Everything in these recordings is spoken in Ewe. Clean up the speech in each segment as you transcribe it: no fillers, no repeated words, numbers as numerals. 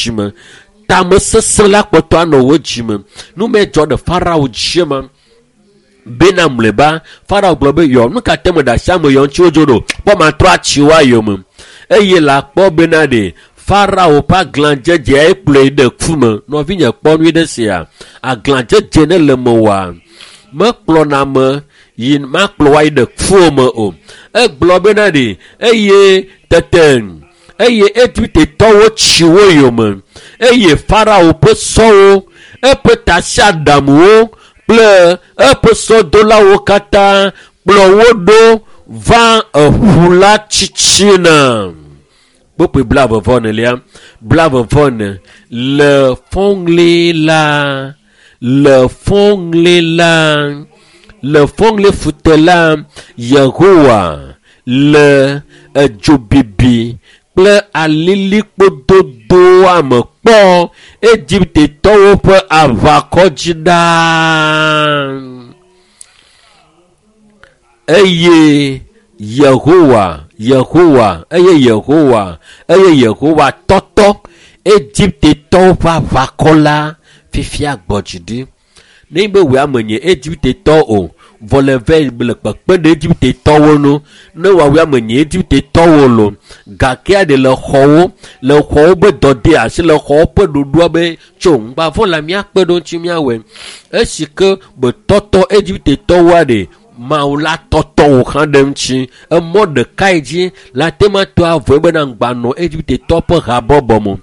dzime. Tamesesẽ la kpɔtɔ anɔ wò dzime. Nu me dzɔ ɖe Farao dzi ma. Bena mlɔeba, Farao gblɔ be, yɔ, nu ka te meɖe asi ame yɔ ŋuti wodzo ɖo? Kpɔ matrɔ atsi woa yome. Eye le akpɔ bena ɖe Farao ƒe aglãdzedzea ye kplɔe ɖe ku me. Nɔvinye kpɔ nyui ɖe sia. Aglãdzedze ne le mewòa, mekplɔna ame yi makplɔ woayi ɖe kuo me o. Egblɔ bena ɖe eye tete eye Egiptetɔwo tsi wo yome eye Farao ƒe sɔwo, eƒe tasiaɖamwo kple eƒe sɔdolawo katã kplɔ wo ɖo va eƒu la tsitsina. Kpokpoe 22lia, 24 le fɔŋli la, le fɔŋli la, le fɔŋli fute la, Yehowa le edzobibi kple alilikpododoa me kpɔ Egiptetɔwo ƒe aʋakɔ dzi ɖaa. Eye Yehowa, Yehowa, eye Yehowa, eye Yehowa tɔtɔ Egiptetɔwo ƒe aʋakɔ la fifia gbɔ dzi ɖi. Ne be wòe ame nye Egiptetɔ o, vɔ le vɛ le kpekpe ɖe Egiptetɔwo ŋu. Ne wòawoe ame nye Egiptetɔwo lo, gake ɖe le xɔwo, le xɔwo be dɔde asi, le xɔwo ƒe ɖoɖoa be tso ŋgbavɔ la míakpe ɖo ŋuti míawɔe. Esi ke be tɔtɔ Egiptetɔwoa ɖe, Mawu la tɔtɔ wò hã ɖe ŋuti. Emɔ ɖekae dzi la te ma to avɔe bena ŋgba nɔ Egiptetɔ ƒe habɔbɔ me.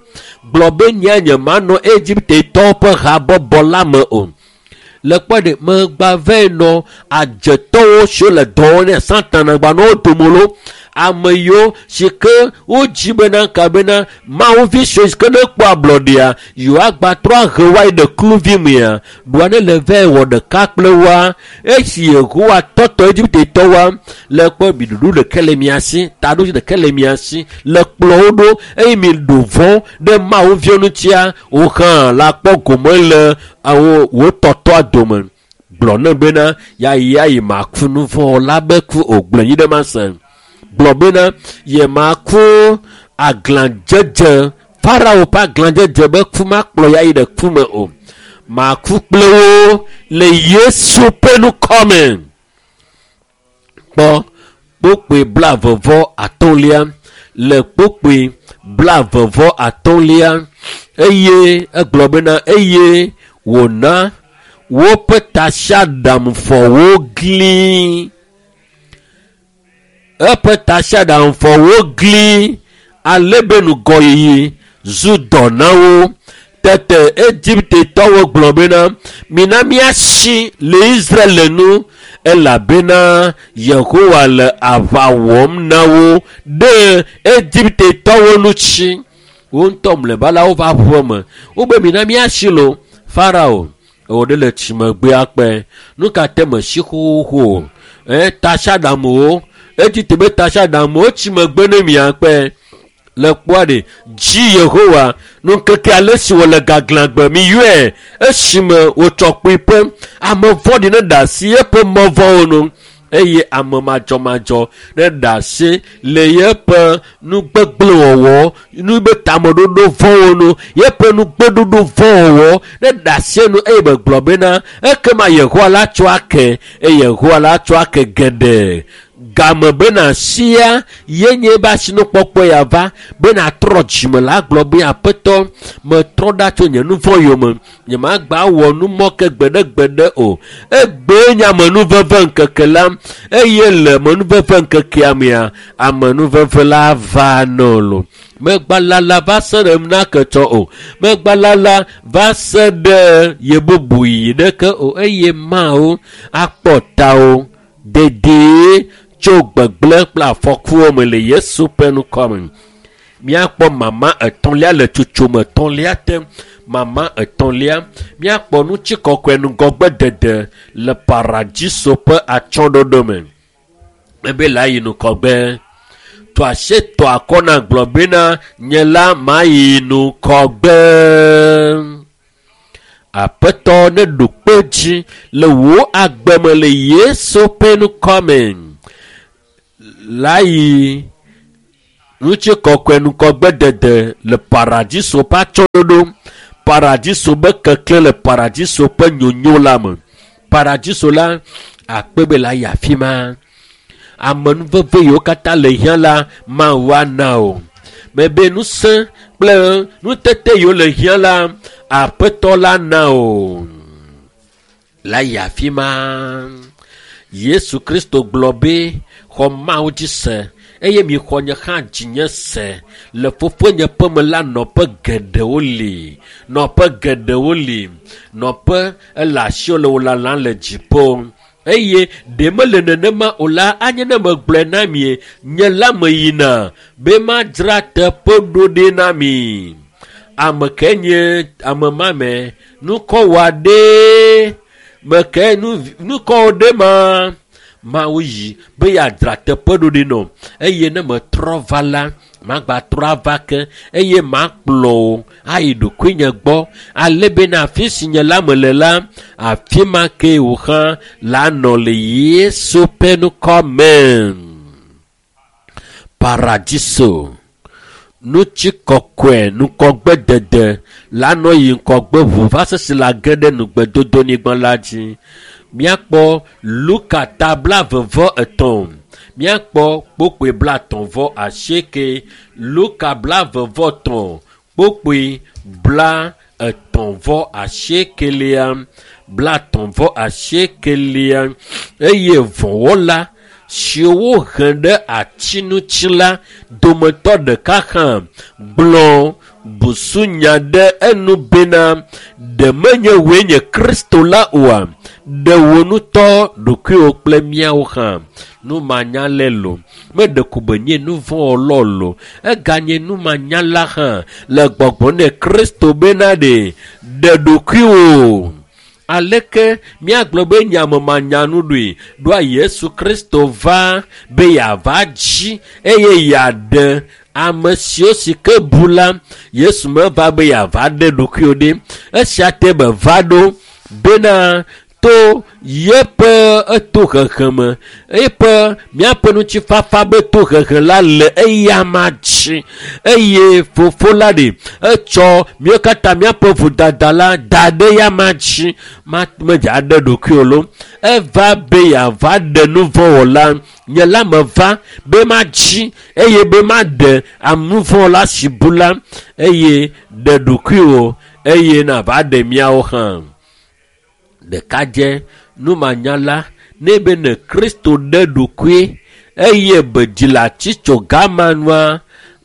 Gblɔ be nye nye manɔ Egiptetɔ ƒe habɔbɔ la me o. Le kpɔ ɖe megba vɛ nɔ adzetɔwo siwo le dɔ wɔm ne Satana gba nɔ wo dome lo. Ame yiwo si ke wodzi bena ka bena Mawu vi siwo si ke ne kpɔ ablɔɖea, yewoagba trɔ ahe woayi ɖe kluvi mea, ɖoa ne le vɛ wɔ ɖeka kple woa. Esi Yehowa tɔtɔ Egiptetɔwoa, le kpɔ mi ɖuɖu ɖeke le mia si, taɖodzi ɖeke le mia si, le kplɔ wo ɖo eye mi ɖo vɔ̃ ɖe Mawu viwo ŋutia, wo hã la kpɔ gome le awo wo tɔtɔa dome. Gblɔ ne bena yayi yayi maku nu vɔ̃ la be ku o, gblɔ nyi ɖe ma se. Gblɔ bena ye maku aglãdzedze, Farao ƒe aglãdzedze be ku makplɔ yayi ɖe ku me o. Maku kple wo le Yesu ƒe ŋkɔ me. Kpɔ kpokpoe 33 le kpokpoe 33 eye egblɔ bena eye wòna woƒe tasiaɖamfɔwo gli. Eƒe tasiaɖamfɔwo gli ale be ŋgɔyiyi zu dɔ na wo. Tete Egiptetɔwo gblɔ bena mina míasi le Israel nu elabena Yehowa le aʋa wɔm na wo ɖe Egiptetɔwo ŋuti. Wo ŋutɔ mlɔeba la wova ʋu eme. Wobe mina míasi lo. Farao wò ɖe le tsimegbea kpe. Nu ka te mesi xoxoxo o? Tasiaɖamwo, Egipte be tasiaɖamwo tsimegbe ne miakpe. Le kpɔa ɖe dzi Yehowa nukeke ale si wòle gaglãgbe mi yɔe esime wòtsɔ kpuiƒe. Ame vɔ̃ɖi ne ɖe asi eƒe mɔ vɔ̃wo nu eye ame madzɔmadzɔ ne ɖe asi le yeƒe nugbegblẽwɔwɔ, nu be tameɖoɖo vɔ̃wo nu, yeƒe nugbeɖoɖo vɔ̃wɔwɔ ne ɖe asi enu eye megblɔ bena ekema Yehowa la tsɔ ake eye Yehowa la tsɔ ake geɖe. Game bena sia ye nye be asinukpɔkpɔ ya va bena trɔ dzime la gblɔ be aƒetɔ metrɔ ɖa tso nye nu vɔ̃ yome nye magba wɔ nu mɔ ke gbeɖegbeɖe o. Egbee nye amenuveve ŋkeke la eye le amenuveve ŋkekea mea amenuveve la va nɔ lo. Megbalala va se ɖe naketsɔ o. Megbalala va se ɖe yebubu yi ɖeke o eye Mawu akpɔ tawo dedie tso gbegblẽ kple afɔkuwo me le Yesu ƒe ŋkɔ me. Míakpɔ mama etɔ̃lia le tsotsome etɔ̃lia te. Mama etɔ̃lia míakpɔ ŋutikɔkɔe ŋgɔgbedede le paradiso ƒe atsyɔ̃ɖoɖo me. Ebe la yi ŋgɔgbe. Tɔ asi tɔ akɔ na gblɔ bena nye la mayi ŋgɔgbe. Aƒetɔ ne ɖo kpe dzi le wò agbe me le Yesu ƒe ŋkɔ me. La yi Ŋutikɔkɔe ŋgɔgbedede le paradiso ƒe atsyɔ̃ɖoɖo, paradiso be keklẽ le paradiso ƒe nyonyo la me. Paradiso la akpe be la yi afi ma. Amenuveve yiwo katã le hiã la Mawu ana o. Mebe ŋusẽ kple nutete yiwo le hiã la Aƒetɔ la na o. La yi afi ma. Yesu Kristo gblɔ be xɔ Mawu dzi se eye mixɔ nye hã dzinye se. Le fofonye ƒe me la nɔƒe geɖewo li. Nɔƒe geɖewo li. Nɔƒe ele asiwò le wò lalam le dziƒo. Eye ɖe mele nenema o la, anye ne megblɔe na mi, nye la meyina be madzra teƒe ɖo ɖi na mi. Ame ke nye ame ma me, nukɔ wɔ ɖe meke nukɔ ɖe ma. Mawu yi be yeadzra teƒe ɖo ɖi nɔ eye ne metrɔ va la, magbatrɔ ava ke eye makplɔ wò ayi ɖokuinye gbɔ ale bena afi si nye la mele la, afi ma ke wò hã la nɔ le Yesu ƒe ŋkɔ me. Paradiso ŋutikɔkɔe ŋgɔgbedede la nɔ yi ŋgɔgbe ʋu va se si la ge ɖe nugbedodonyigba la dzi. Míakpɔ Luka ta 33, míakpɔ kpokpoe 38. Luka 33 kpokpoe 38, 38 eye vɔ̃wɔla siwo wohe ɖe ati ŋuti la dometɔ ɖeka hã gblɔ busunya ɖe enu bena, ɖe menye wòe nye Kristo la oa? Ɖe wò ŋutɔ ɖokuiwò kple míawo hã. Numanyalae lo. Meɖe ko be nye nu vɔ̃wɔlawo lo. Eganye numanyala hã le gbɔgbɔ nɛ Kristo bena ɖe ɖe ɖokuiwò. Aleke míagblɔ be nye ame manyanu ɖoe? Ɖoa Yesu Kristo va be yeava dzi eye yeaɖe ame siwo si ke bu la. Yesu meva be yeava ɖe ɖokuiwò ɖi. Esia te be va ɖo bena to yeƒe etohehe me, eƒe míaƒe ŋutifafa be tohehe la le eyama dzi eye fofo la ɖe etsɔ míawo katã míaƒe vodada la da ɖe eyama dzi. Medze aɖe ɖokuiwò lo. Eva be yeava ɖe nu vɔ̃ wɔla. Nye la meva be madzi eye be maɖe ame vɔ̃ la si bu la eye ɖe ɖokuiwò eye nava ɖe míawo hã. Ɖekadze numanyala ne be ne Kristo ɖe ɖokui eye be dzi le atitsoga ma nua,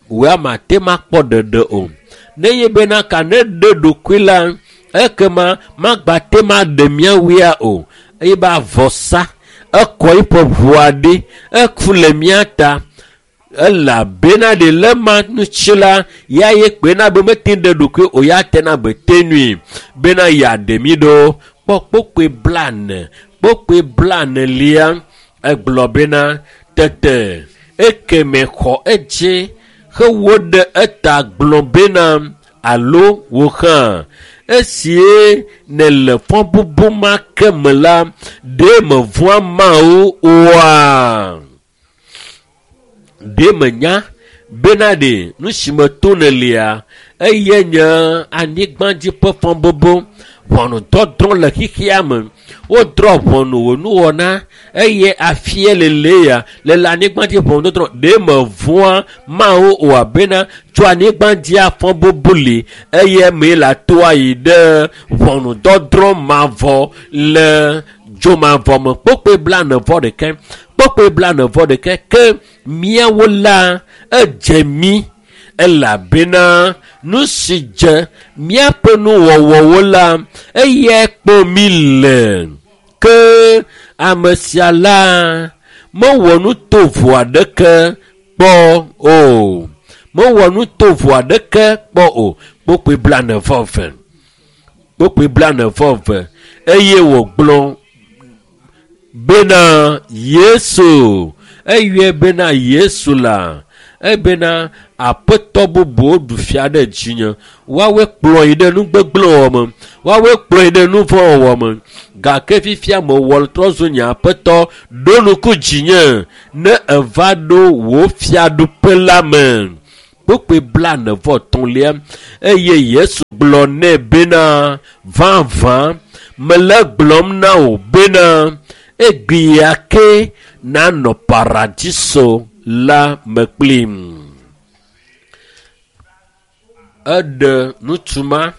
wòe mate makpɔ ɖeɖe o. Ne ye bena ka ne ɖe ɖokui la, ekema magbate maɖe míawoea o. Eye be avɔsa ekɔ eƒe ʋua ɖi, eku le mía ta. Elabena ɖe le ma ŋuti la, ya ye kpena be mete ɖe ɖokui o, ya tena be te nui bena yeaɖe mí ɖo. Kpɔ kpokpoe 40, kpokpoe 40 egblɔ bena tete ekeme xɔ edzi hewo ɖe eta gblɔ bena alo wò hã esie nèle fɔbubu ma ke me la, ɖe mevɔ̃a Mawu oa? Ɖe menya bena ɖe nu si me to nèlia, eye nye anyigbadzi ƒe fɔbubu, ʋɔnudɔdrɔ̃ le xexea me. Wodrɔ̃ ʋɔnu wò nuwɔna eye afia lele ya le le anyigbadzi ʋɔnudɔdrɔ̃. Ɖe mevɔ̃a Mawu oa bena tso anyigbadzia fɔbubu li eye mee la toa yi ɖe ʋɔnudɔdrɔ̃ mavɔ le dzomavɔ me. Kpokpoe 41, kpokpoe 41 ke míawo la edze mí elabena nu si dze míaƒe nuwɔwɔwo la eyae kpɔ mí le. Ke ame sia la mewɔ nu tovo aɖeke kpɔ o. Mewɔ nu tovo aɖeke kpɔ o. Kpokpoe 42, kpokpoe 42 eye wògblɔ bena Yesu, eyɔe bena Yesu la. Ebena aƒetɔ bubuwo ɖu fia ɖe dzinye. Woawoe kplɔ yi ɖe nugbegblẽwɔwɔ me. Woawoe kplɔ yi ɖe nuvɔ̃wɔwɔ me. Gake fifia mewɔ trɔ zu nye aƒetɔ ɖo ŋku dzinye ne eva ɖo wò fiaɖuƒe la me. Kpukpui 33 eye Yesu gblɔ nɛ bena, vavã mele gblɔm na wò bena egbea ke nanɔ paradiso la me kplim. Eɖe ŋutsu ma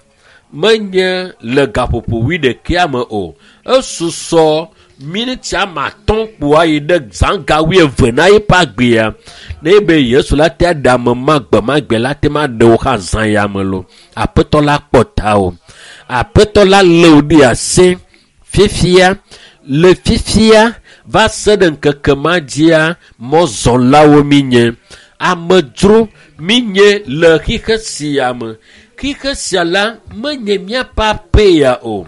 menye le gaƒoƒo 11 me o. Esusɔ miniti ame 5 kpoa yi ɖe zã ga 20 na eƒe agbea. Ne be Yesu la te ɖe ame ma gbemagbe la te ma ɖe wo hã zã ya me lo. Aƒetɔ la kpɔ ta o. Aƒetɔ la lé wò ɖe asi fifia le fifia va se ɖe ŋkeke ma dzia mɔzɔlawo mi nye. Amedzro mi nye le xixe sia me. Xixe sia la menye míaƒe aƒe ya o.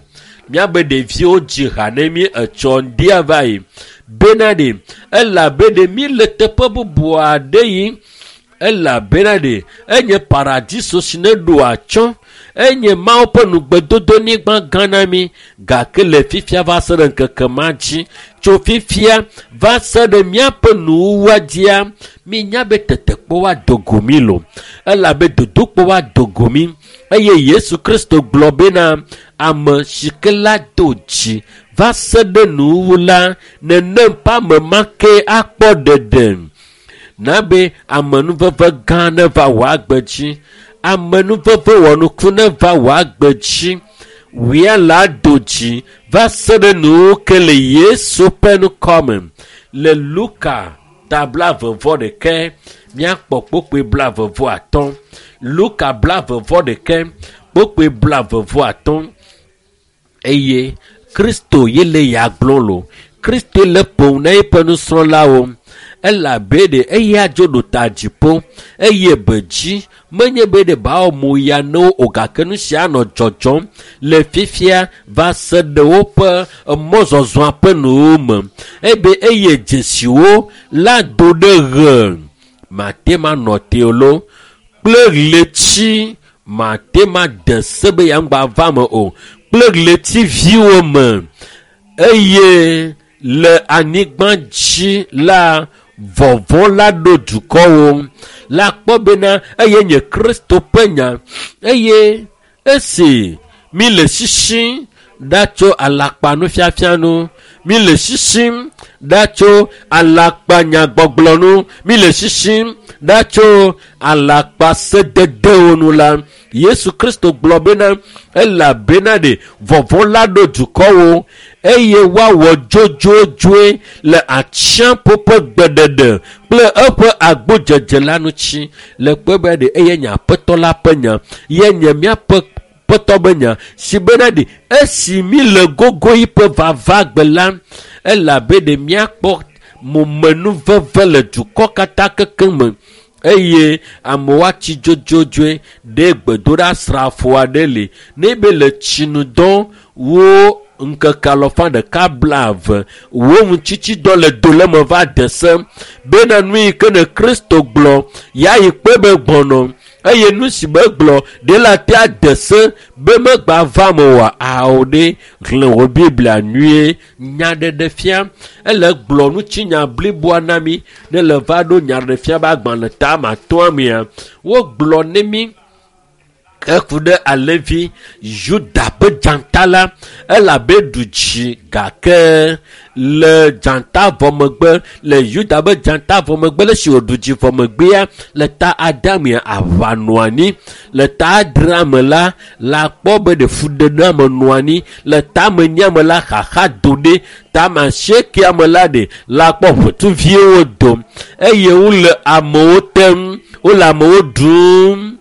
Míabe ɖeviwo dzi ha ne mí etsɔ ŋdia va yi. Bena ɖe elabe ɖe mí le teƒe bubu aɖe yi. Elabena ɖe enye paradiso si ne ɖo atsyɔ̃. Enye Mawu ƒe nugbedodonyigba gã na mí. Gake le fifia va se ɖe ŋkeke ma dzi. Tso fifia va se ɖe míaƒe nuwuwua dzia, mínya be tetekpɔ woado go mí lo. Elabe dodokpɔ woado go mí. Eye Yesu Kristo gblɔ bena ame si ke la do dzi va se ɖe nuwuwu la, nenem ƒe ame ma ke akpɔ ɖeɖe. Na be amenuveve gã neva wò agbe dzi. Amenuveve wɔnuku neva wò agbe dzi. Wia la do dzi va se ɖe nuwuwu ke le Yesu ƒe ŋkɔme. Le Luka ta 21 míakpɔ kpukpui 23. Luka 21 kpukpui 23. Eye Kristo ye le ya gblɔ lo. Kristo le ƒom na eƒe nusrɔ̃lawo. Elabe ɖe eya dzo ɖo ta dziƒo eye be dzi menye be ɖe bawo mo ya ne wo o gake nu sia nɔ dzɔdzɔm le fifia va se ɖe woƒe mɔzɔzɔa ƒe nuwo me. Ebe eye dzesiwo la do ɖe ɣe mate ma nɔ te o lo kple ɣleti mate ma de se be ya ŋgba va me o kple ɣletiviwo me eye le anyigba dzi la vɔvɔ̃ la ɖo dukɔwo la kpɔ bena eye nye Kristo ƒe nya eye esi mi le sisim ɖa tso alakpanufiafia nu, mi le sisim ɖa tso alakpanyagbɔgblɔ nu, mi le sisim ɖa tso alakpasededewo nu la, Yesu Kristo gblɔ bena elabena ɖe vɔvɔ̃ la ɖo dukɔwo eye woawɔ dzodzodzoe le atsiaƒu ƒe gbeɖeɖe kple eƒe agbodzedze la ŋuti. Le kpɔe be ɖe eye nye aƒetɔ la ƒe nya ye nye míaƒe ƒetɔ be nya si bena ɖe esi mi le gogo yiƒe vava gbe la, elabe ɖe míakpɔ momenuveve le dukɔ katã kekeŋ me eye amewo atsi dzodzodzoe ɖe gbedoɖasrafo aɖe li ne be le tsinudɔ wo ŋkeke 120 wo ŋutsitsidɔ le do le me va de se bena nu yi ke ne Kristo gblɔ ya yi kpe be gbɔnɔ eye nu si be gblɔ ɖe la te ade se be megba va me oa ao ɖe xlẽ wò Biblia nyuie nyaɖeɖefia ele gblɔ ŋutinya bliboa na mi ne le va ɖo nyaɖeɖefia be agbalẽ ta ma atɔ̃a mea wogblɔ ne mi eku ɖe alevi Yuda ƒe dzata la elabe ɖu dzi gake le dzata vɔ megbe le Yuda ƒe dzata vɔ megbe le si wòɖu dzi vɔ megbea le ta adamea aʋa nɔ anyi le ta adrea me la la kpɔ be ɖe fuɖename nɔ anyi le ta menyia me la xaxa do ɖe ta masiekea me la ɖe la kpɔ ʋetuviwo dom eye wole amewo tem wole amewo ɖum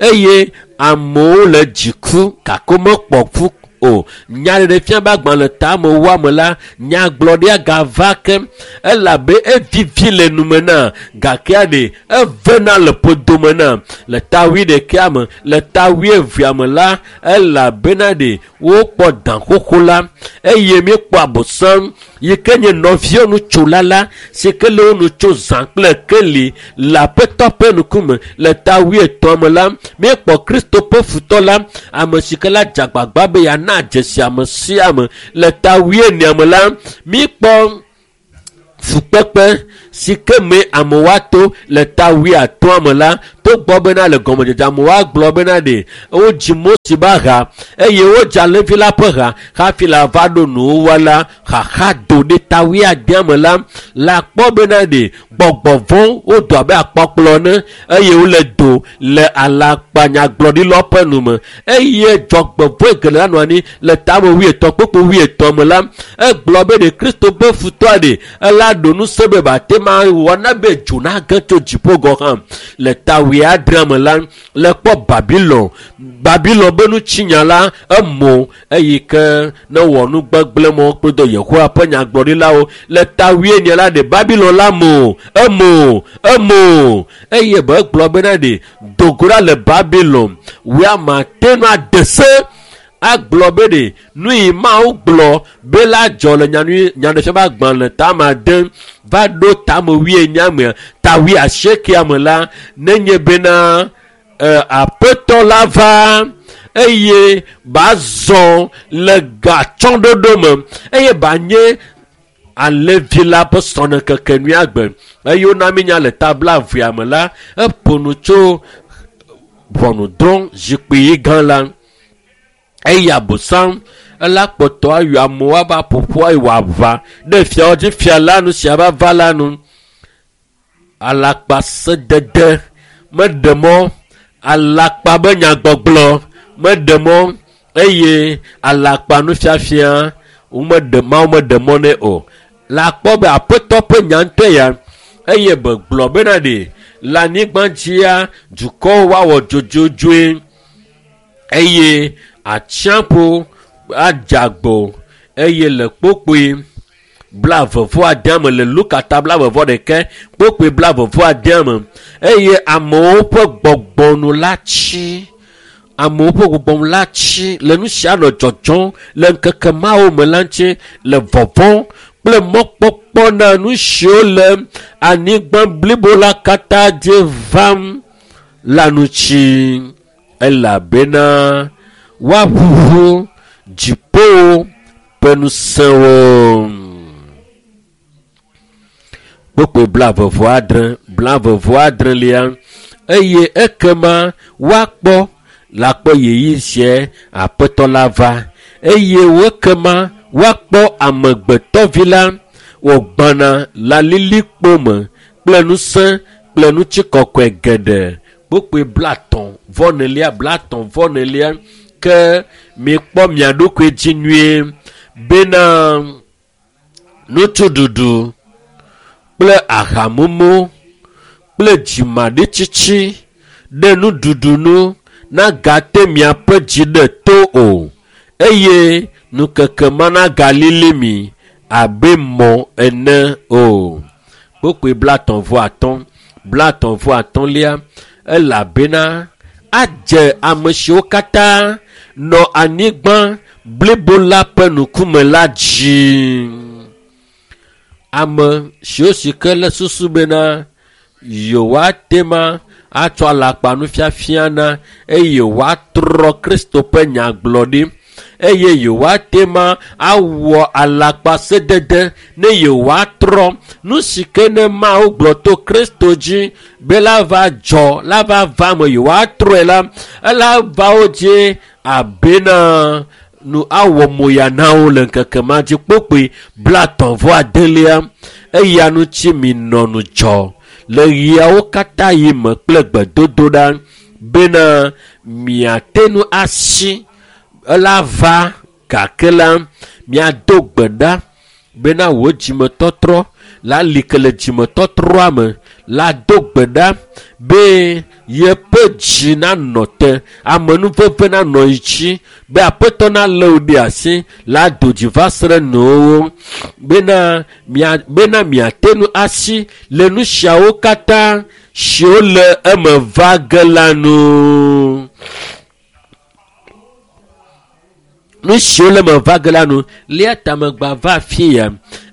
eye amewo le dziku gake womekpɔ ku o. Nyaɖeɖefia be agbalẽ ta me woame la nyagblɔɖia gava ke elabe evivi le nume na gake ɖe evena le ƒodome na le ta 21 me le ta 22 me la elabena ɖe wokpɔ dã xoxo la eye míekpɔ abosam yi ke nye nɔviwo nutsola la, si ke le wo nu tso zã kple keli le Aƒetɔ ƒe ŋkume. Le ta wuietɔ̃ me la, míekpɔ Kristo ƒe futɔ la, ame si ke la dze agbagba be yeana dzesi ame sia ame. Le ta wuienea me la, míekpɔ fukpekpe si ke me amewo ato. Le ta wuiatɔ̃a me la, togbɔ bena le gɔmedzedze amewo agblɔ bena ɖe wodzi Mose be ha eye wodzi alẽvi la ƒe ha hafi la va ɖo nuwuwua la, xaxa do ɖe ta wuiadea me la, la kpɔ bena ɖe gbɔgbɔ vɔ̃ wodo abe akpɔkplɔ ene eye wole do le alakpanyagblɔɖilawo ƒe nu me eye dzɔgbevɔ̃e geɖe la nɔ anyi. Le tame wuietɔ̃ kpukpu wuietɔ̃ me la, egblɔ be ɖe Kristo ƒe futɔa ɖe ela ɖo ŋusẽ be bate ma wɔ na be dzo nage tso dziƒo gɔ̃ hã. Le ta wuiadrea me la, le kpɔ Babilon, Babilon be nutsinya la emo eyi ke ne wɔ nu gbegblẽ mɔ kple do Yehowa ƒe nyagblɔɖilawo. Le ta wuienyi la ɖe Babilon la mo, emo, emo eye be egblɔ bena ɖe dogo ɖa le Babilon, wòe mate ŋu ade se agblɔ be ɖe nu yi Mawu gblɔ be la dzɔ le nyanyui nyaɖeɖefia ƒe agbalẽ tame ade va ɖo tame wuienyi mea, ta wuiasiekea me la, nenye bena Aƒetɔ la va eye bazɔ le gatsɔɖoɖo me eye banye alẽvi la ƒe srɔ̃ɖeŋkekenyui agbe. Eye wona mínya le ta blaevea me la, eƒo nu tso ʋɔnudrɔ̃ zikpui gã la. Eye Abosam ela kpɔtɔ ayɔ amewo ava ƒoƒu eye wòaʋã ɖe fiawo dzi fia la nu sia va va la nu. Alakpasedede meɖe mɔ, alakpa be nyagbɔgblɔ meɖe mɔ eye alakpa nufiafia womeɖe Mawu meɖe mɔ nɛ o. La kpɔ be Aƒetɔ ƒe nya ŋutɔe ya eye be gblɔ bena ɖe le anyigba dzia dukɔwo woawɔ dzodzodzoe eye atsiaƒu adze agbo eye le kpokpoe blaeve vɔ ade me le Luka ta blaeve vɔ ɖekɛ kpokpoe blaeve vɔ ade me eye amewo ƒe gbɔgbɔnu la tsi, amewo ƒe gbɔgbɔnu la tsi le nu sia nɔ dzɔdzɔm le ŋkeke mawo me la ŋuti le vɔvɔ̃ kple mɔkpɔkpɔ na nu siwo le anyigba blibo la katã dzi vam la ŋuti, elabena woaʋuʋu dziƒowo ƒe ŋusẽwo. Kpokpoe blaeve vɔ adre, blaeve vɔ adrelia, eye ekema woakpɔ la kpɔ ɣeyiɣi sia Aƒetɔ la va eye wokema woakpɔ amegbetɔvi la wògbɔna le alilikpo me kple ŋusẽ kple ŋutikɔkɔe geɖe. Kpokpoe 30 vɔ enelia, 30 vɔ enelia, ke mikpɔ mia ɖokui dzi nyuie bena nutsuɖuɖu kple ahamumu kple dzimaɖitsitsi ɖe nuɖuɖu nu nagate miaƒe dzi ɖe to o eye nukeke ma nagalili mi abe mɔ ene o. Kpokpoe 35 vɔ atɔ̃, 35 vɔ atɔ̃lia, elabena adze ame siwo katã nɔ anyigba blibo la ƒe ŋkume la dzi. Ame siwo si ke le susu bena yewoate ma atsɔ alakpa nufiafia na eye yewoatrɔ Kristo ƒe nyagblɔɖi eye yewoate ma awɔ alakpa sedede ne yewoatrɔ nu si ke ne Mawu gblɔ to Kristo dzi be la va dzɔ la va va me yewoatrɔe la, ela va wo dzi abena nu awɔ moya na wo le ŋkeke ma dzi. Kpokpoe 30 vɔ adelia, eya ŋuti minɔ ŋudzɔ le ɣiawo katã yi me kple gbedodoɖa bena miate ŋu asi ela va gake la miado gbe ɖa bena wò dzimetɔtrɔ la li ke le dzimetɔtrɔa me la do gbe ɖa be yeƒe dzi nanɔ te, amenuveve nanɔ yi dzi be Aƒetɔ nalé wò ɖe asi la do dzi va se ɖe nɔewo bena mia bena miate ŋu asi le nu siawo katã siwo le eme va ge la nu. Nu siwo le me va ge la nu lia ta megba va afi ya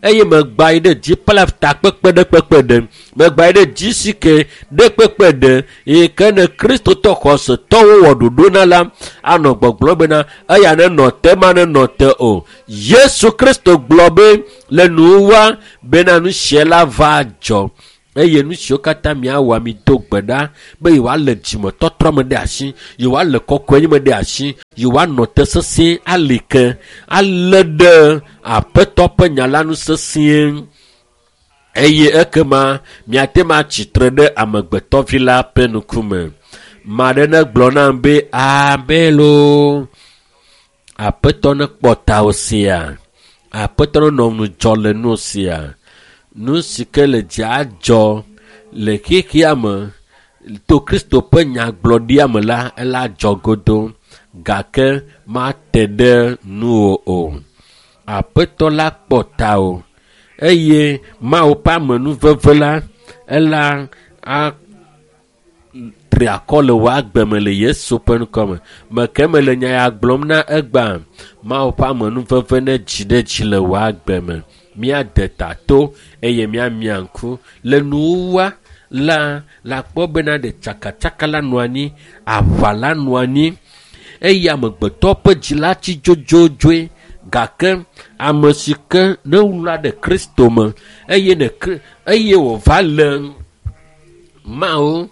eye megba yi ɖe dziplaf takpekpe ɖe kpekpe ɖe megba yi ɖe dzisike ɖe kpekpe ɖe yi ke ne kristotɔ xɔsetɔwo wɔ ɖoɖo na la anɔ gbɔgblɔ bena eya nenɔ te ma nenɔ te o. Yesu Kristo gblɔ be le nuwuwua bena nu sia la va dzɔ eye nu siwo katã miawɔ mi do gbe ɖa be yewoalé dzimetɔtrɔ me ɖe asi, yewoalé kɔkɔenye me ɖe asi, yewoanɔ te sesĩe ali ke alé ɖe aƒetɔ ƒe nya la nu sesĩe eye ekema miate ŋu atsitre ɖe amegbetɔvi la ƒe ŋkume. Ma ɖe negblɔ nam be amen loo. Aƒetɔ nekpɔ tawò sia. Aƒetɔ nenɔ ŋudzɔ le nu sia. Nu si ke le dza dzɔ le xexea me to Kristo ƒe nyagblɔɖia me la, ela dzɔ godo gake mate ɖe nuwò o. Aƒetɔ la kpɔ tawò eye Mawu ƒe amenuveve la ela atri akɔ le wò agbe me le Yesu ƒe ŋkɔ me. Meke mele nya ya gblɔm na egbea, Mawu ƒe amenuveve ne dzi ɖe dzi le wò agbe me. Míade ta to eye míamia ŋku le nuwuwua la la kpɔ bena ɖe tsakatsaka la nɔ anyi, aʋa la nɔ anyi eye amegbetɔ ƒe dzi la tsi dzodzodzoe gake ame si ke ne wla ɖe Kristo me eye ne eye wòva le Mawu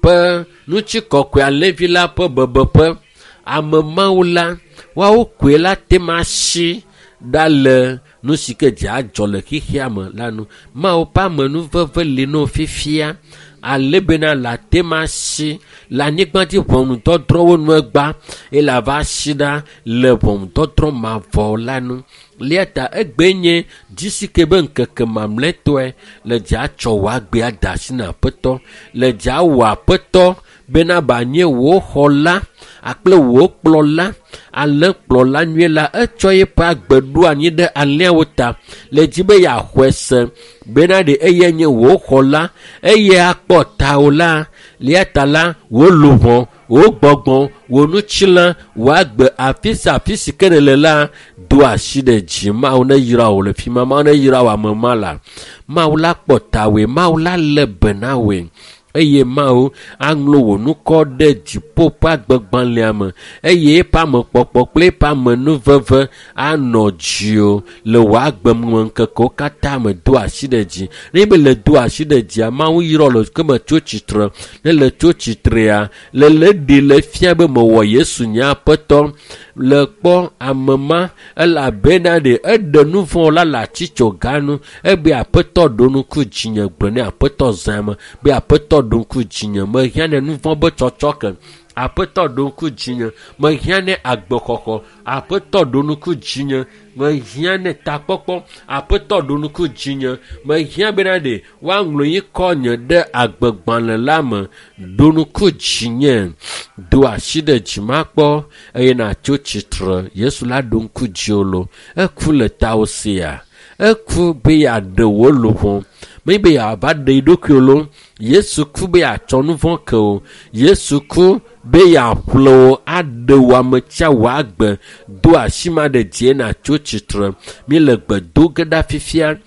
ƒe ŋutikɔkɔe alẽvi la ƒe bebeƒe, ame mawo la, woawo koe la te ŋu asi ɖa le nu si ke dze adzɔ le xexea me la nu. Mawu ƒe amenuveve li na wo fifia ale bena le ate ŋu asi le anyigba dzi ʋɔnudɔdrɔ̃wo nu egba eye le ava asi ɖa le ʋɔnudɔdrɔ̃ mavɔ la nu. Eya ta egbe nye dzisi ke be ŋkeke mamlɛtɔe le dza tsɔ wò agbe ade asi na aƒetɔ, le dza wɔ aƒetɔ bena banye wò xɔla akple wò kplɔla, alẽkplɔla nyuie la etsɔ eƒe agbe ɖo anyi ɖe alẽawo ta le dzi be yeaxɔe se bena ɖe eyae nye wò xɔla eye akpɔ tawò la eya ta la wò luʋɔ, wò gbɔgbɔ, wò ŋutilã, wò agbe afi sia afi si ke nèle la do asi ɖe dzi. Mawu neyra wò le fi ma, Mawu neyra wò ame ma la. Mawu la kpɔ tawòe, Mawu la lé be na wòe eye Mawu aŋlɔ wò ŋkɔ ɖe dziƒo ƒe agbegbalẽa me eye eƒe amekpɔkpɔ kple eƒe amenuveve anɔ dziwò le wò agbemeŋkekewo katã me. Do asi ɖe dzi. Ne be le do asi ɖe dzia, Mawu yrɔ le ke me tso tsitre. Ne le tso tsitrea, le le ɖi le fia be mewɔ Yesu nye aƒetɔ. Le kpɔ ame ma elabena ɖe eɖe nu vɔ̃ la le atitsoga nu. Ebe aƒetɔ ɖo ŋku dzinye gblɔ ne aƒetɔ zã me be aƒetɔ ɖo ŋku dzinye mehiã ne nu vɔ̃ be tsɔtsɔ ke. Aƒetɔ ɖo ŋku dzinye mehiã ne agbexɔxɔ. Aƒetɔ ɖo ŋku dzinye mehiã ne takpɔkpɔ. Aƒetɔ ɖo ŋku dzinye mehiã bena ɖe woaŋlɔ yi kɔ nye ɖe agbegbalẽ la me. Ɖo ŋku dzinye, do asi ɖe dzi makpɔ eye nàtso tsitre. Yesu la ɖo ŋku dziwò lo. Eku le tawò sia. Eku be yeaɖe wò luʋɔ. Menye be yeava ɖe yi ɖokui lo. Yesu ku be yeatsɔ nu vɔ̃ ke wò. Yesu ku be yeaƒle wò aɖe wò ame tsia wò agbe. Do asi ma ɖe dzie nàtso tsitre. Míele gbe do ge ɖa fifia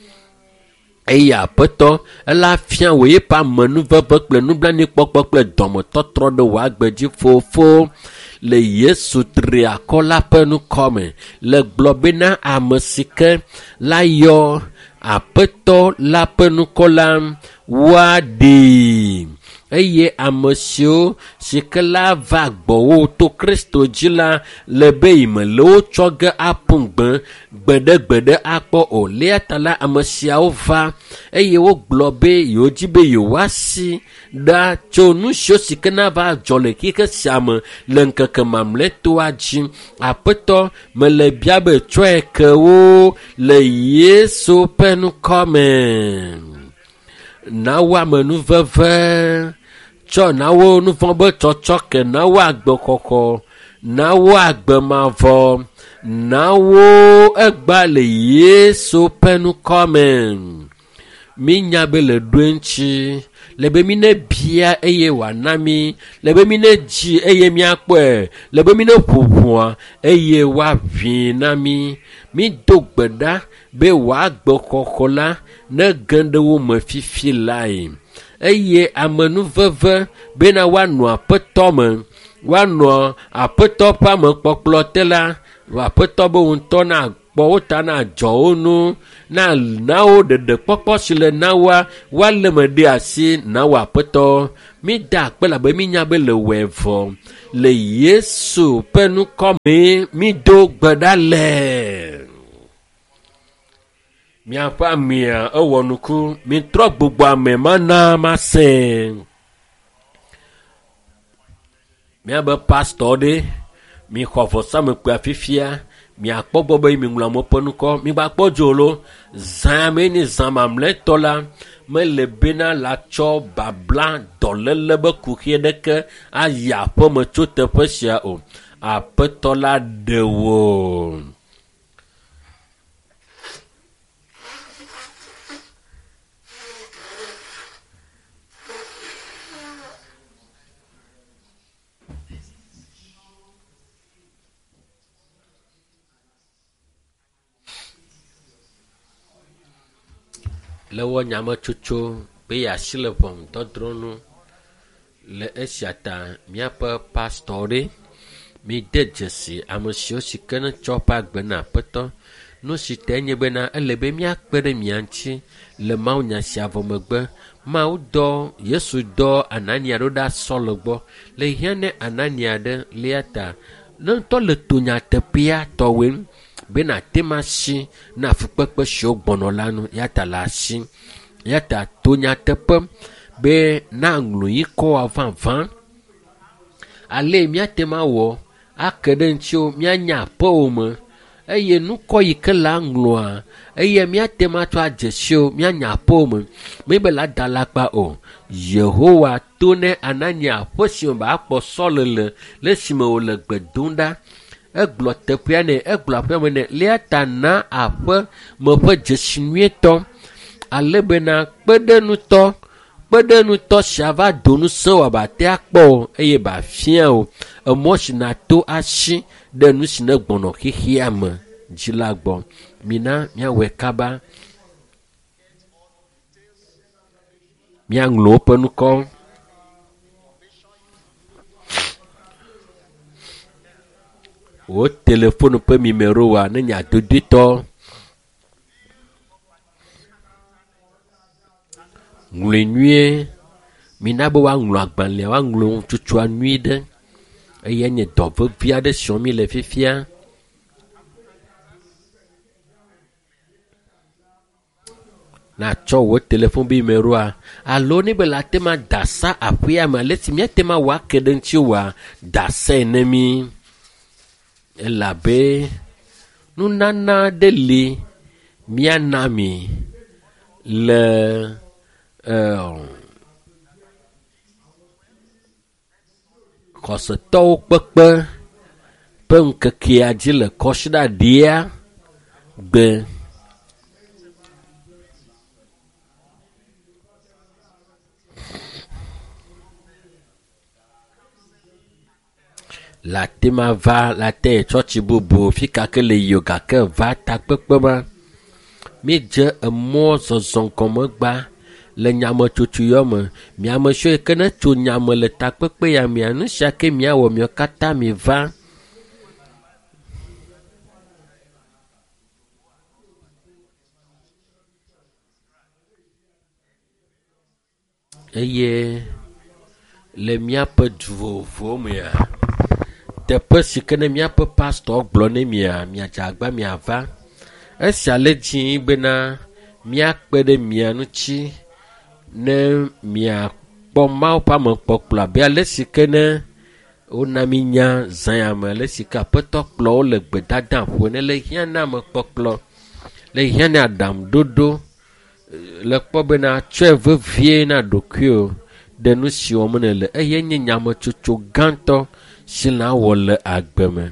eye aƒetɔ ela fia wò eƒe amenuveve kple nublanuikpɔkpɔ kple dɔmetɔtrɔ ɖe wò agbe dzi fofo le Yesu tri akɔ la ƒe ŋkɔ me. Le gblɔ bena ame si ke la yɔ aƒetɔ la ƒe ŋkɔ la woaɖee eye ame siwo si ke la va gbɔwò to Kristo dzi la le be yi me le wotsɔ ge aƒu gbe gbeɖegbeɖe akpɔ o. Eya ta la ame siawo va eye wogblɔ be yewodzi be yewoasi ɖa tso nu siwo si ke nava dzɔ le xexe sia me le ŋkeke mamlɛtɔa dzi. Aƒetɔ mele bia be tsɔe ke wo le Yesu ƒe ŋkɔ me. Na wo amenuveve, tsɔ na wo nu vɔ̃ be tsɔtsɔ ke, na wo agbexɔxɔ, na wo agbe mavɔ, na wo egba le Yesu ƒe ŋkɔ me. Mínya be le ɖoe ŋuti le be mi ne bia eye wòana mi, le be mi ne dzi eye míakpɔe, le be mi ne ƒo ʋɔa eye woaʋui na mi. Mído gbe ɖa be wòagbe xɔxɔ la nege ɖe wo me fifi lae. Eye amenuveve bena woanɔ aƒetɔ me, woanɔ aƒetɔ ƒe amekpɔkplɔ te la, aƒetɔ be wo ŋutɔ nakpɔ wo ta nadzɔ wo nu, na wo ɖeɖekpɔkpɔ si le na woa, woalé me ɖe asi na wo aƒetɔ. Mída akpe labe mínya be le wɔe vɔ. Le Yesu ƒe ŋkɔ mee mído gbe ɖa le. Miaƒe amea ewɔ nuku. Mitrɔ gbugbɔ ame mana masẽ. Míabe pastɔ ɖe, mixɔ vɔsamekpea fifia, miakpɔ gbɔ be miŋlɔ amewo ƒe ŋkɔ. Migbakpɔ dzo lo, zã mee nye zã mamlɛtɔ la, mele bena la tsɔ babla dɔléle be kuxi ɖeke ayi aƒeme tso teƒe sia o. Aƒetɔ la ɖe wò. Le wɔ nyametsotso be yeasi le ʋɔnudɔdrɔ̃ nu. Le esia ta míaƒe pastɔ ɖe mide dzesi ame siwo si ke ne tsɔ woƒe agbe na aƒetɔ. Nu si tae nye bena ele be míakpe ɖe mia ŋuti le mawunya sia vɔ megbe. Mawu dɔ Yesu dɔ Anania ɖo ɖa Saul gbɔ. Le hiã ne Anania ɖe lia ta ne ŋutɔ le to nyateƒea tɔwoe be nàte ŋu asi na fukpekpe siwo gbɔnɔ la nu ya ta le asi. Ya ta to nyateƒe be naŋlɔ yi kɔ vavã. Ale míate ŋu awɔ ake ɖe ŋutiwo míanya aƒewò me eye nukɔ yi ke la ŋlɔa eye míate ŋu atsɔ adze siwo míanya aƒewò me. Mebe la da alakpa o. Yehowa to ne Anania aƒe si me akpɔ Saul le le esime wòle gbe dom ɖa. Egblɔ teƒea nɛ, egblɔ aƒea me nɛ. Lia ta na aƒe me ƒe dzesi nyuietɔ ale bena kpeɖenutɔ kpeɖenutɔ sia va do ŋusẽ wò abe ate akpɔ o eye bafia o emɔ si nàto asi ɖe nu si ne gbɔnɔ xexea me dzi la gbɔ. Mina míawɔe kaba. Míaŋlɔ woƒe ŋkɔ. Wò telefonu ƒe numerowoa ne nye adodoetɔ. Ŋlɔe nyuie. Mina be woaŋlɔ agbalẽa, woaŋlɔ ŋutsua nyuie ɖe. Eya nye dɔ vevi aɖe si wɔm míle fifia. Natsɔ wò telefon be numeroa alo ne be le ate ŋu ada asa aƒea me ale si míate ŋu awɔ ake ɖe ŋutiwòa, da asae ne mí. Elabe nunana aɖe li míana mi le xɔsetɔwo kpekpe ƒe ŋkekea dzi le kɔsiɖa ɖia gbe. Le ate ma va le ate yi tsɔtsi bubu fi ka ke le yi o gake va takpekpe ma. Míedze emɔ zɔzɔ gɔme gba le nyametsotso yɔ me. Miame siwo yi ke ne tso nyame le takpekpe ya mea, nu sia ke miawɔ miawo katã miva. Eye le míaƒe du vovovowo mea, teƒe si ke ne míaƒe pastɔ gblɔ ne mia, miadze agba miava. Esia le dzi bena míakpe ɖe mia ŋuti ne miakpɔ Mawu ƒe amekpɔkplɔ abe ale si ke ne wona mi nya zã ya me ale si ke aƒetɔ kplɔ wo le gbedada ƒo ne le hiã na amekpɔkplɔ, le hiã na aɖaŋuɖoɖo, le kpɔ bena tsɔe vevie na ɖokuiwò ɖe nu si wɔm nèle eye nye nyametsotso gãtɔ si nàwɔ le agbe me.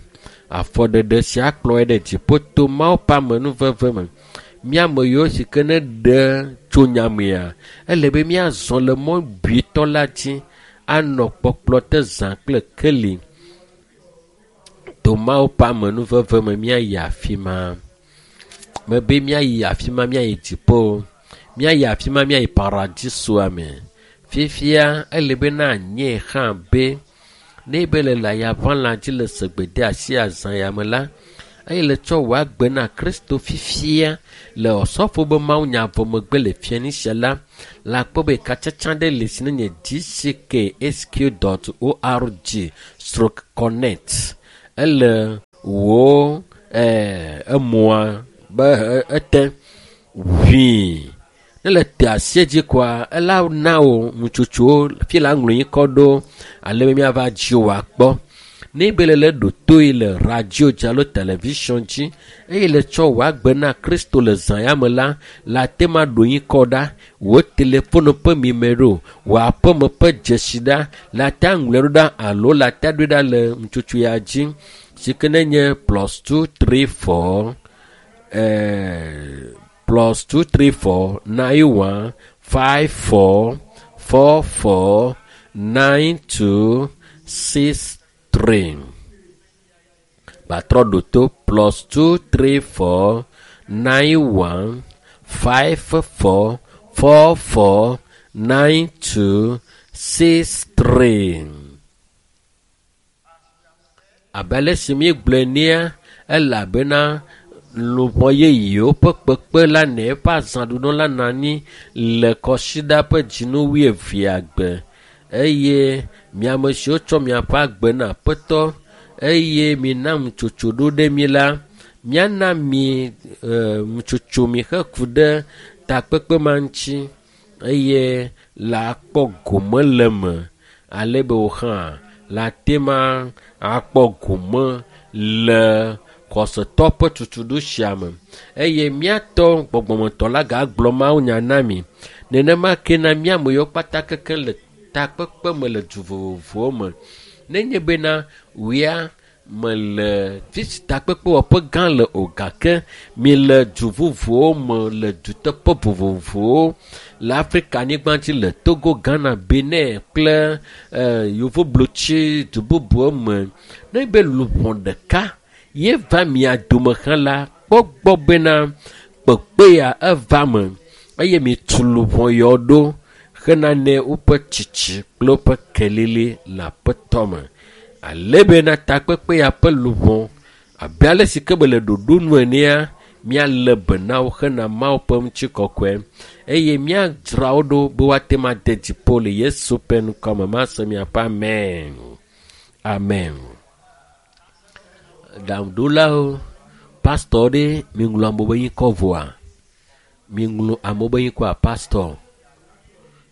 Afɔɖeɖe sia kplɔe ɖe dziƒo to Mawu ƒe amenuveve me. Mía ame yiwo si ke ne ɖe tso nyamea, ele be míazɔ le mɔ buitɔ la dzi anɔ kpɔkplɔ te zã kple keli. To Mawu ƒe amenuveve me míayi afi ma. Mebe míayi afi ma míayi dziƒo. Míayi afi ma míayi paradisoa me. Fifia ele be na nye hã be ne be le layaʋãla dzi le segbede asi azã ya me la, eye le tsɔ wò agbe na Kristo fifia le osɔfo be mawunya vɔ megbe le fianisia la, la kpɔ be katsatsa ɖe le si ne nye gcksq.org/connect. Ele wò emɔa be ete ʋii. Ne le te asie dzi koa, ela na wò nutsotsowo fi la ŋlɔ ŋkɔ ɖo ale be míava dzi wò akpɔ. Ne be le le ɖo toe le radio dzi alo television dzi eye le tsɔ wò agbe na Kristo le zã ya me la, la te ma ɖo ŋkɔ ɖa, wò telefonu ƒe mimero, wò aƒeme ƒe dzesi ɖa, la te aŋlɔe ɖo ɖa alo la te aɖoe ɖa le nutsotso ya dzi si ke ne nye +234 +234 91 54 44 92 63. Gbatrɔ ɖo to +234 91 54 44 92 63. Abe ale si míegblɔe nea, elabena luʋɔ yeyewo ƒe kpekpe la ne eƒe azãɖuɖu la nɔ anyi le kɔsiɖa ƒe dzinu wuievea gbe eye miame siwo tsɔ miaƒe agbe na Aƒetɔ eye mina nutsotso ɖo ɖe mi la, míana mi nutsotso mi heku ɖe takpekpe ma ŋuti eye la kpɔ gome le me ale be wò hã la te ma akpɔ gome le xɔsetɔ ƒe tutuɖo sia me eye míatɔ gbɔgbɔmetɔ la gagblɔ mawunya na mi. Nenema ke na míame yiwo kpata keke le takpekpe me le du vovovowo me. Nenye bena wia mele fi si takpekpewɔƒe gã le o gake mi le du vovovowo me le duteƒe vovovowo le Afrika anyigba dzi le Togo, Ghana, Benin kple yevublotsi du bubuwo me. Ne be luʋɔ ɖeka ye va mia dome hã la, kpɔ gbɔ bena kpekpea eva me eye mitu luʋɔ yawo ɖo hena ne woƒe tsitsi kple woƒe kelili le Aƒetɔ me. Ale bena takpekpe ya ƒe luʋɔ abe ale si ke be le ɖoɖo nu enea, míalé be na wo hena Mawu ƒe ŋutikɔkɔe eye míadzra wo ɖo be woate ŋu ade dziƒo le Yesu ƒe ŋkɔ me. Mase miaƒe amen. Amen. Ɖaŋuɖolawo, pastɔ ɖe miŋlɔ amewo be ŋkɔ vɔa? Miŋlɔ amewo be ŋkɔa pastɔ.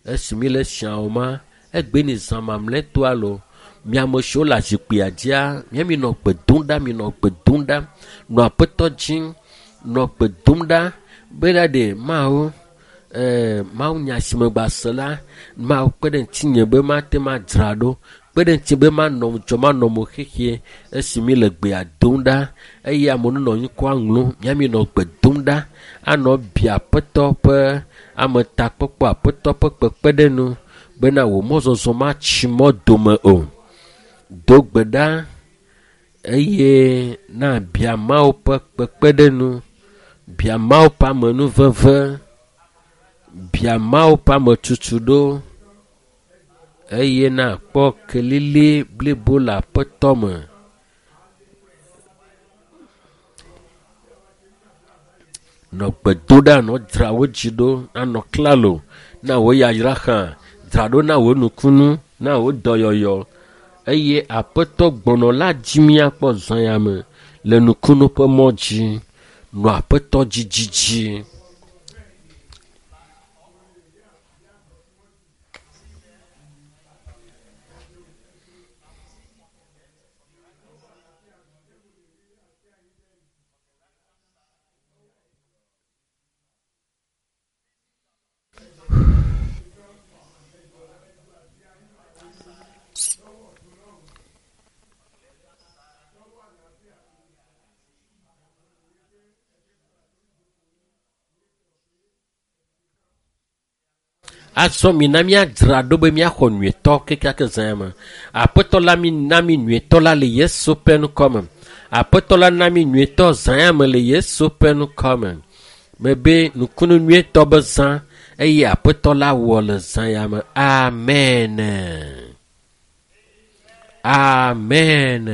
Esi mi le siawo ma, egbe ni zã mamlɛtɔa lo, miame siwo le zikpuia dzia, mía minɔ gbe dom ɖa, minɔ gbe dom ɖa, nɔ Aƒetɔ dzi, nɔ gbe dom ɖa be ɖa ɖe Mawu, Mawu nya si me gba se la, Mawu kpe ɖe ŋutinye be mate ŋu adzra ɖo, kpe ɖe ŋutinye be manɔ ŋudzɔ, manɔ mo xexie esi mi le gbea dom ɖa eye amewo nɔ ŋkɔa ŋlɔm, mía minɔ gbe dom ɖa anɔ bia Aƒetɔ ƒe ametakpɔkpɔ, Aƒetɔ ƒe kpekpeɖeŋu bena wò mɔzɔzɔ matsi mɔ dome o. Do gbe ɖa eye na bia Mawu ƒe kpekpeɖeŋu, bia Mawu ƒe amenuveve, bia Mawu ƒe ametutuɖo eye na kpɔ kelili blibo le Aƒetɔ me. Nɔ gbe dom ɖa, nɔ dzra wò dzi ɖo, anɔ klalo na wò yayra hã, dzra ɖo na wò nukunu, na wò dɔyɔyɔ eye Aƒetɔ gbɔnɔ la dzi míakpɔ zã ya me le nukunu ƒe mɔ dzi. Nɔ Aƒetɔ dzi dzidzi. Azɔ mina míadzra ɖo be míaxɔ nyuietɔ kekeake zã ya me. Aƒetɔ la mi na mi nyuietɔ la le Yesu ƒe ŋkɔ me. Aƒetɔ la na mi nyuietɔ zã ya me le Yesu ƒe ŋkɔ me. Mebe nukunu nyuietɔ be zã eye aƒetɔ la wɔ le zã ya me. Amen. Amen.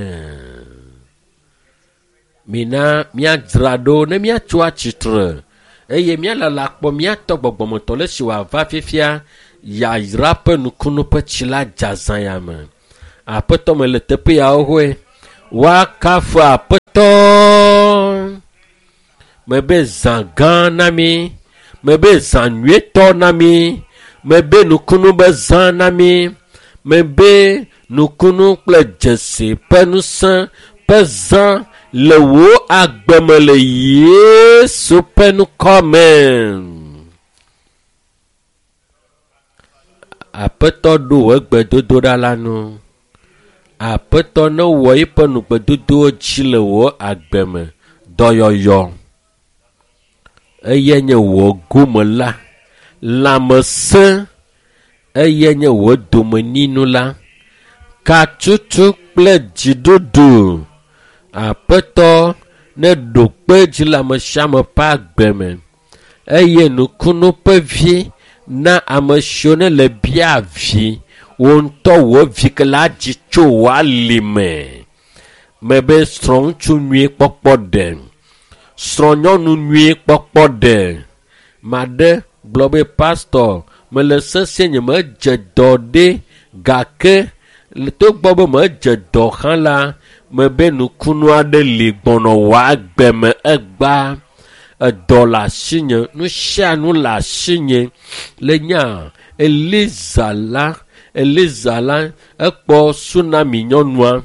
Mina míadzra ɖo ne míatso atsitre eye míalala kpɔ míatɔ gbɔgbɔmetɔ le si wòava fifia yayra ƒe nukunu ƒe tsi la dza zã ya me. Aƒetɔ me le teƒe yawo hoe. Woakafu aƒetɔ. Mebe zã gã na mi. Mebe zã nyuietɔ na mi. Mebe nukunu be zã na mi. Mebe nukunu kple dzesi ƒe ŋusẽ ƒe zã le wò agbe me le Yesu ƒe ŋkɔ me. Aƒetɔ ɖo wò egbedodoɖa la nu. Aƒetɔ ne wɔ eƒe nugbedodowo dzi le wò agbe me. Dɔyɔyɔ eye nye wò gome la. Lãmesẽ eye nye wò domenyinu la. Katutu kple dziɖuɖu. Aƒetɔ ne ɖo kpe dzi le ame sia ame ƒe agbe me eye nukunu ƒe vi na ame siwo ne le bia vi wò ŋutɔ wò vi ke la dzi tso wò ali me. Mebe srɔ̃ŋutsu nyui kpɔkpɔ ɖe, srɔ̃nyɔnu nyui kpɔkpɔ ɖe. Maɖe gblɔ be pastor mele sesĩe nye medze dɔ ɖe gake togbɔ be medze dɔ hã la mebe nukunu aɖe li gbɔnɔ wò agbe me egba. Edɔ le asinye, nu sia nu le asinye. Le nya Eliza la, Eliza la ekpɔ tsunami nyɔnua.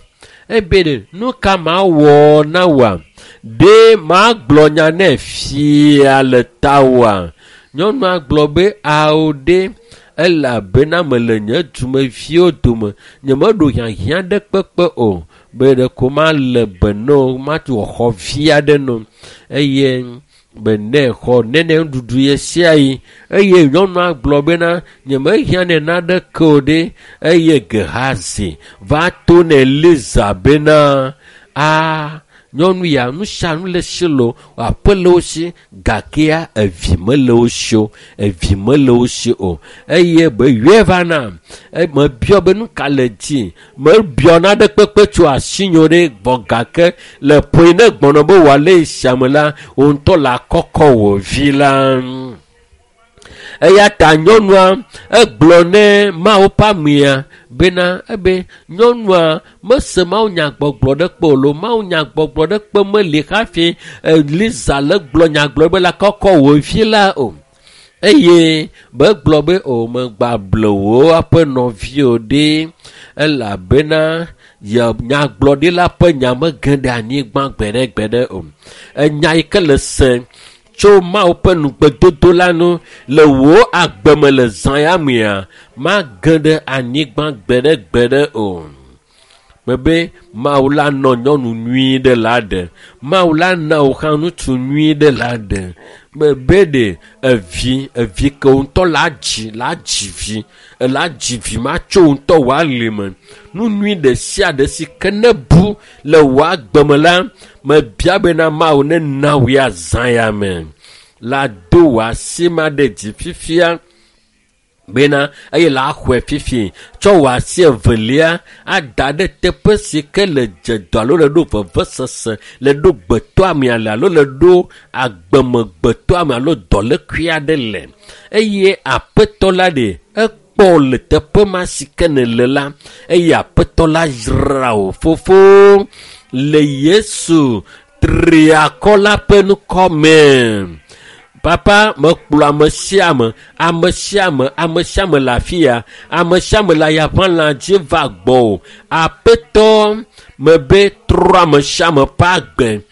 Ebe ɖe nu ka mawɔ na wòa? Ɖe magblɔ nya nɛ fia le tawòa? Nyɔnua gblɔ be ao ɖe elabena mele nye dumeviwo dome. Nyemeɖo hiahiã ɖe kpekpe o. Be ɖeko male be ne wo, matu xɔ vi aɖe no eye be ne xɔ nene nuɖuɖu ɣe sia ɣi. Eye nyɔnua gblɔ bena nyemehiã nɛ naneke o ɖe eye Gehazi va to ne Eliza bena a nyɔnu ya nu sia nu le si lo aƒe le wo si gakea evi mele wo si o evi mele wo si o eye be yɔe va na mebiɔ be nu ka le dzi mebiɔ naɖe kpekpe tso asinye ɖe gbɔ gake le ƒoe ne gbɔnɔ be wòale siame la wò ŋutɔ le akɔkɔ wò vi la. Eya ta nyɔnua egblɔ ne Mawu ƒe amea bena ebe nyɔnua mese Mawu nyagbɔgblɔ ɖe kpe o lo Mawu nyagbɔgblɔ ɖe kpe meli hafi Eliza le gblɔ nyagblɔ be la kɔkɔ wò vi la o. Eye be gblɔ be o megba ble wò aƒe nɔvi o ɖe elabena ye nyagblɔɖila ƒe nya mege ɖe anyigba gbeɖegbeɖe o. Enya yi ke le se tso Mawu ƒe nugbedodo la nu le wò agbe me le zã ya mea mage ɖe anyigba gbeɖegbeɖe o. Mebe Mawu la nɔ nyɔnu nyui ɖe la ɖe. Mawu la na wò hã ŋutsu nyui ɖe la ɖe. Mebe ɖe evi evi ke wò ŋutɔ la dzi la dzi vi la dzi vi ma tso wò ŋutɔ wò ali me. Nu nyui ɖe sia ɖe si ke ne bu le wò agbe me la mebia bena Mawu ne na wò ya zã ya me. La do wò asi ma ɖe dzi fifia bena eye la xɔe fifi tsɔ wò asi evelia ada ɖe teƒe si ke le dze dɔ alo le ɖo vevesese le ɖo gbetɔame ale alo le ɖo agbemegbetɔame alo dɔlékui aɖe le eye aƒetɔ la ɖe ekpɔ le teƒe ma si ke nèle la eye aƒetɔ la yra wò fofo le Yesu triakɔ la ƒe ŋkɔ me. Papa mekplɔ ame sia ame, ame sia ame, ame sia ame le afi ya, ame sia ame le ayaʋalã dzi va gbɔwò. Aƒetɔ mebe trɔ ame sia ame ƒe agbe,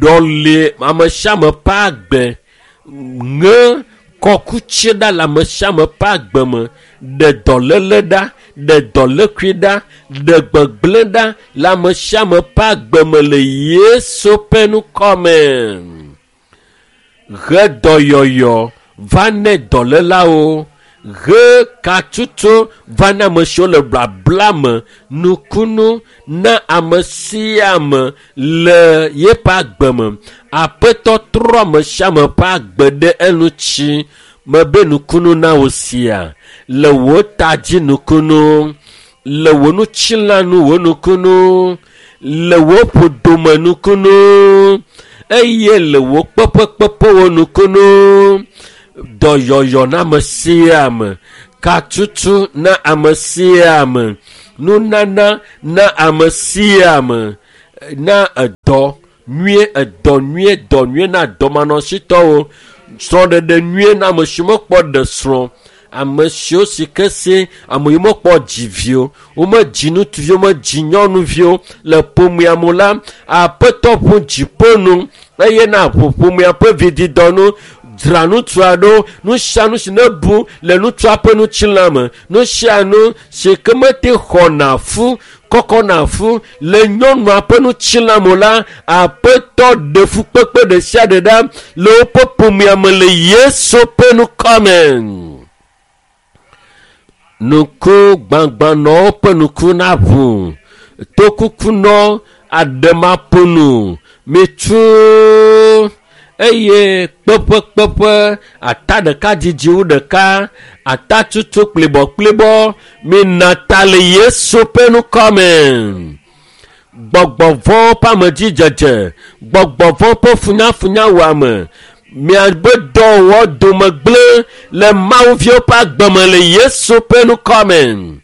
ɖɔli ame sia ame ƒe agbe, ŋe kɔkutsi ɖa le ame sia ame ƒe agbe me, ɖe dɔléle ɖa, ɖe dɔlékui ɖa, ɖe gbegblẽ ɖa le ame sia ame ƒe agbe me le Yesu ƒe ŋkɔ me. He dɔyɔyɔ va ne dɔlélawo He katutu va na ame siwo le blabla me. Nukunu na ame sia ame le yeƒe agbe me. Aƒetɔ trɔ ame sia ame ƒe agbe ɖe eŋuti. Mebe nukunu na wò sia le wò ta dzi nukunu, le wò ŋutilãnu wò nukunu, le wò ƒodome nukunu, eye le wò kpeƒekpeƒewo nukunu. Dɔyɔyɔ na ame sia ame, katutu na ame sia ame, nunana na ame sia ame, na edɔ nyuie, edɔ nyuie, dɔ nyuie na dɔmanɔsitɔwo, srɔ̃ɖeɖe nyuie na ame siwo mekpɔ ɖe srɔ̃, ame siwo si ke si ame yiwo mekpɔ dziviwo, womedzi ŋutsuviwo, womedzi nyɔnuviwo le ƒomea me la, Aƒetɔ ʋu dziƒo nu eye na ʋu ƒomea ƒe vididɔ nu. Dzra ŋutsua ɖo, nu sia nu si nebu le ŋutsua ƒe ŋutilã me, nu sia nu si ke mete xɔna fu, kɔkɔna fu le nyɔnua ƒe ŋutilã me la, Aƒetɔ ɖe fukpekpe ɖe sia ɖe ɖa le woƒe ƒomea me le Yesu ƒe ŋkɔ me. Nuku gbãgbãnɔwo ƒe nuku naʋu, tokukunɔ aɖemaƒonu mitsu eye kpeƒekpeƒe ata ɖeka dzidzi wu ɖeka, ata tutu kplibɔkplibɔ mina ta le Yesu ƒe ŋkɔ me. Gbɔgbɔ vɔ̃wo ƒe amedzidzedze, gbɔgbɔ vɔ̃ ƒe funyafunyawɔame, miabe dɔwɔwɔ dome gblẽ le Mawuviwo ƒe agbe me le Yesu ƒe ŋkɔ me.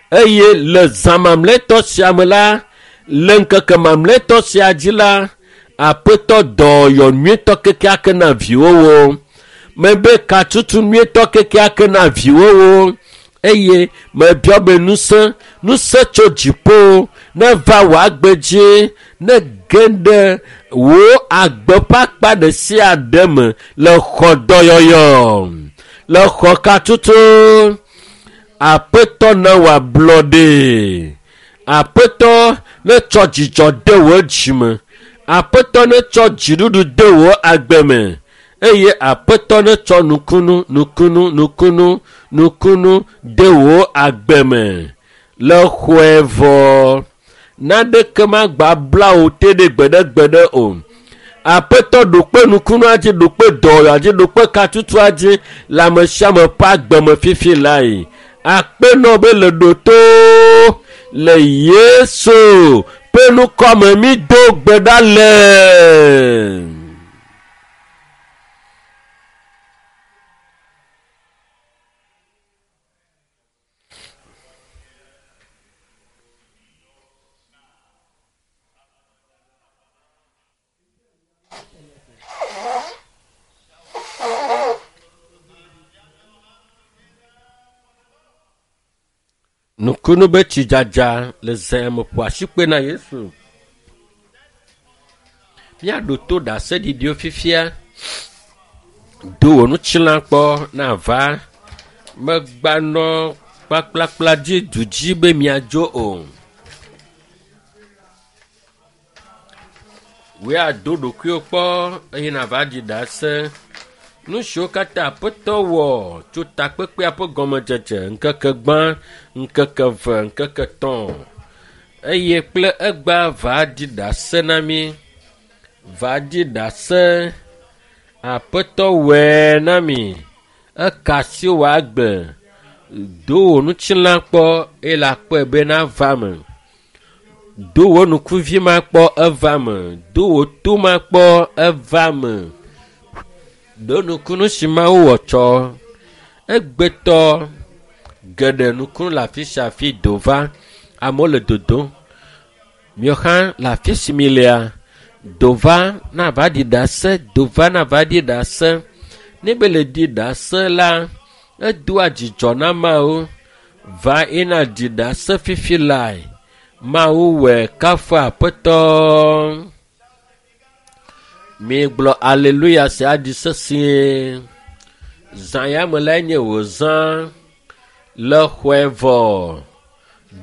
Eye le zã mamlɛtɔ sia me la, le ŋkeke mamlɛtɔ sia dzi la, Aƒetɔ dɔyɔ nyuietɔ kekeake na viwòwo. Mebe katutu nyuietɔ kekeake na viwòwo. Eye mebiɔ be ŋusẽ, ŋusẽ tso dziƒo neva wò agbe dzi, ne ge ɖe wò agbe ƒe akpa ɖe sia ɖe me le xɔ dɔyɔyɔ, le xɔ katutu. Aƒetɔ na wò ablɔɖe. Aƒetɔ netsɔ dzidzɔ de wò dzime. Aƒetɔ netsɔ dziɖuɖu de wò agbe me. Eye Aƒetɔ netsɔ nukunu, nukunu, nukunu, nukunu de wò agbe me. Le xɔe vɔ. Naneke magba bla wò te ɖe gbeɖegbeɖe o. Aƒetɔ ɖo kpe nukunua dzi, ɖo kpe dɔwɔwɔa dzi, ɖo kpe katutua dzi le ame sia ame ƒe agbe me fifi lae. Akpenɔ be le ɖo to le Yesu ƒe ŋkɔ me mi do gbe ɖa le. Nukunu be tsidzadza le zã me ƒo asikpe na Yesu. Míaɖo to ɖaseɖiɖiwo fifia. Do wò ŋutilã kpɔ na va. Megbanɔ kplakplakpla dzi du dzi be miadzo o. Wòe ado ɖokuiwò kpɔ eye nava ɖi ɖase. Nu siwo katã Aƒetɔ wɔ tso takpekpea ƒe gɔmedzedze ŋkeke gbã, ŋkeke eve, ŋkeke tɔ̃ eye kple egbea va ɖi ɖase na mí. Va ɖi ɖase. Aƒetɔ wɔe na mi. Eka asi wò agbe. Do wò ŋutilã kpɔ eye le akpɔe be nava me. Do wò ŋkuvi ma kpɔ eva me. Do wò to ma kpɔ eva me. Ɖo nukunu si Mawu wɔ tsɔ. Egbetɔ geɖe nukunu le afi sia afi do va. Amewo le dodom. Miawo hã le afi si mi lea, do va na va ɖi ɖase, do va na va ɖi ɖase. Ne be le ɖi ɖase la, edoa dzidzɔ na Mawu. Va ena ɖi ɖase fifi lae. Mawu wɔe kafu Aƒetɔ. Migblɔ aleluya sia ɖi sesĩe. Zã ya me lae nye wò zã. Le xɔe vɔ.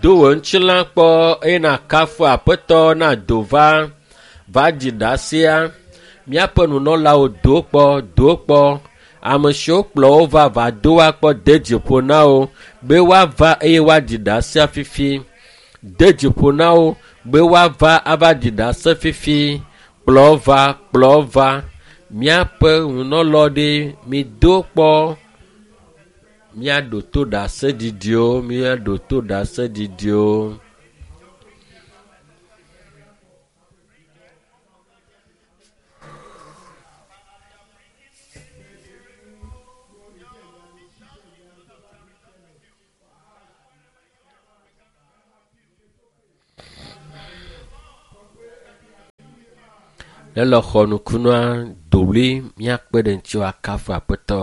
Do wò ŋutilã kpɔ eye nakafu Aƒetɔ na do va. Va ɖi ɖasea. Míaƒe nunɔlawo do kpɔ, do kpɔ. Ame siwo kplɔ wo va va do woakpɔ de dzi ƒo na wo be woava eye woaɖi ɖase fifi. De dzi ƒo na wo be woava ava ɖi ɖase fifi. Kplɔ va, kplɔ va. Míaƒe ŋunɔlɔ ɖe mido kpɔ. Míaɖo to ɖaseɖiɖiwo, míaɖo to ɖaseɖiɖiwo. Ne le xɔ nukunua, dowli míakpe ɖe ŋuti akafu aƒetɔ.